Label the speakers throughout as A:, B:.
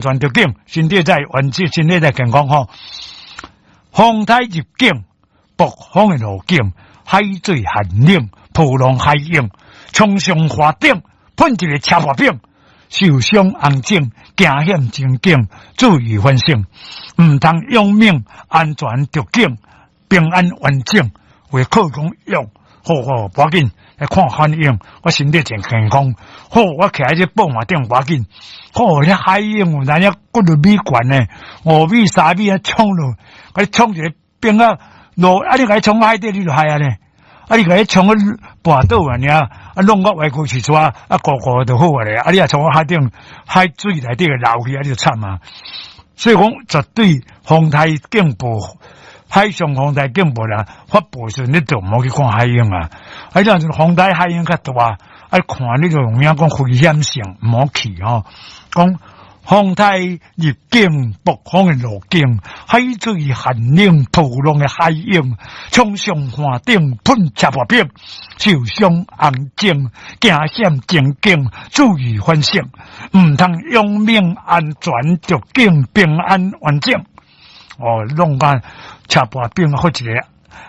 A: 全著緊，身體才完整，身體才健康吼。風颱入境，暴風的路徑，海水寒冷，波浪海湧，衝上岸頂，噴一個車破餅，受傷紅腫，驚險情景，注意反省，毋通勇猛，安全著緊，平安完整，為靠講用，好好，無要緊，來看反應，我身體真健康。好，我徛佇這布馬頂無要緊。好，遐海湧有當遐幾落米懸呢，5米3米啊衝落，共你衝一个冰啊落，啊你共伊衝海底你就害啊呢？啊你共伊衝去跋倒啊爾，啊弄個歪曲起出啊，啊糊糊就好啊咧。啊你若衝到海頂，海水內底會流去，啊你就慘啊。所以講絕對風颱警報，海上風颱警報啦，發布時你就毋好去看海湧啊。啊，若是風颱海湧較大，啊看你就有影講危險性，毋好去吼。講風颱入境，暴風的路徑，海水寒冷，波浪的海湧，衝上岸頂，噴車破冰，受傷紅腫，驚險情景，注意反省，毋通勇猛，安全著緊，平安完整。哦，弄個車破冰或者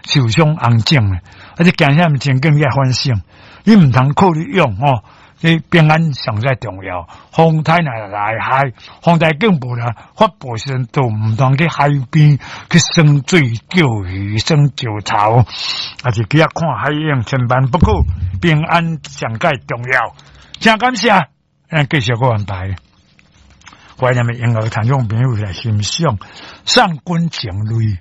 A: 受傷紅腫，啊，這驚險情景要反省，你毋通靠你勇吼。你平安上最重要。風颱若來海，風颱警報啦，發布時陣都毋通去海邊去耍水、釣魚、耍石頭，抑是去遐看海湧，千萬不可。平安上蓋重要。真感謝，咱繼續閣安排。懷念的音樂聽眾朋友來欣賞《送君情淚》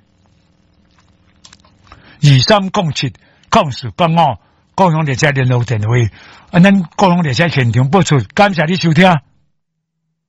A: 23070485，高雄列車聯絡電話。啊，咱高雄列車現場播出，感謝你收聽。